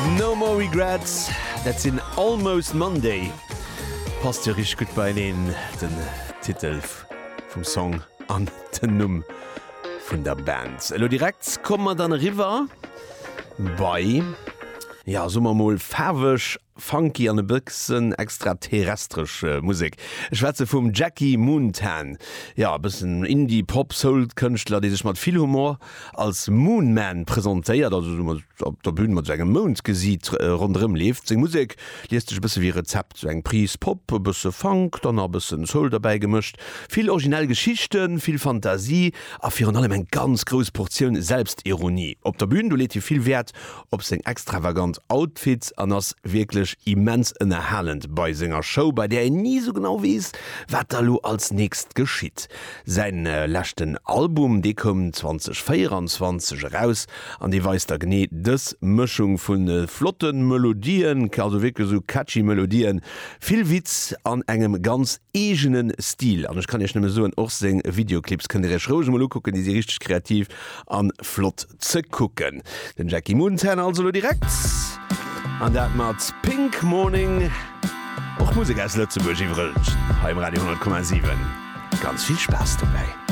No More Regrets, dat sinn Almost Monday. Passt jo richteg gutt beieneen, den Titel vum Song an den Numm vun der Band. Elo direkt komme mer dann eriwwer bei, ja soe mer mol faarweg, funky an e bëssen extraterrestresch Musek. Ech schwätze vum Jackie Moontan, jo e bëssen Indie-, Pop-, Soul-Kënschtler, dee sech mat vill Humor als Moon Man presentéiert, also esou mat op der Bühn mat esou engem Moundgesiit ronderëm leeft. Seng Musek liest sech e bësse wéi e Rezept, esou eng Prise Pop, e bësse Funk, dann nach e bëssen Soul derbäi gemëscht. Vill originell Geschichten, vill Fantasie a virun allem eng ganz grouss Portioun Selbstironie. Op der Bühn, do leet hie vill Wäert op seng extravagant Outfits an ass wierklech immens ënnerhalend bei senger Show, bei där een ni sou genau weess, wat da lo als nächst geschitt. Säin leschten Album, dee koum 2024 eraus an dee weist da genee dës Mëschung vu flotte Melodien, also wierklech sou catchy Melodien, vill Witz an engem ganz eegene Stil. An ech kann iech nëmme soen, och seng Videoclips kënnt dir iech roueg emol ukucken, déi si richteg kreativ an flott ze kucken. Den Jackie Moontan also lo direkt an dat mat Pink Morning, och Musek aus Lëtzebuerg iwwregens hei um Radio 10,7. Ganz vill Spaass dobäi.